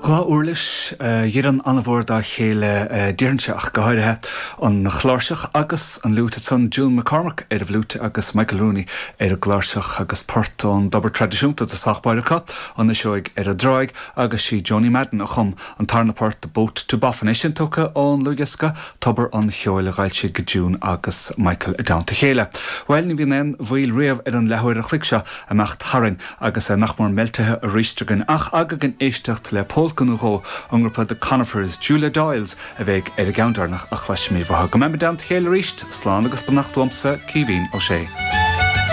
Dá uirlis a dheireann an-mhór dá chéile, déarfainnse, ach go háirithe an chláirseach agus an fhliúit ansan, June McCormack ar an bhfliúit agus Michael Rooney ar an gcláirseach agus port ón dtobar traidisiúnta i dtosach báire acu, An Fhuiseoig ar an dTráigh, agus sí Joni Madden a chum an tarna port, The Boat to Boffin, é sin tugtha ón ndlúthdhiosca Tobar an Cheoil a d'fhoilsigh June agus Michael i dteannta a chéile. Bhuel, ní bhíonn aon mhoill riamh ar an leathuair a chloig seo imeacht tharainn agus é nach mór meiltithe arís againn, ach againn éisteacht le pólca nó dhó ón ngrúpa The Conifers, Julia Doyles a bheidh ar an gceann deireanach a chloisfimid uathu. Go mbeimid i dteannta a chéile arís, slán agus beannacht uaimse, Caoimhín Ó Sé.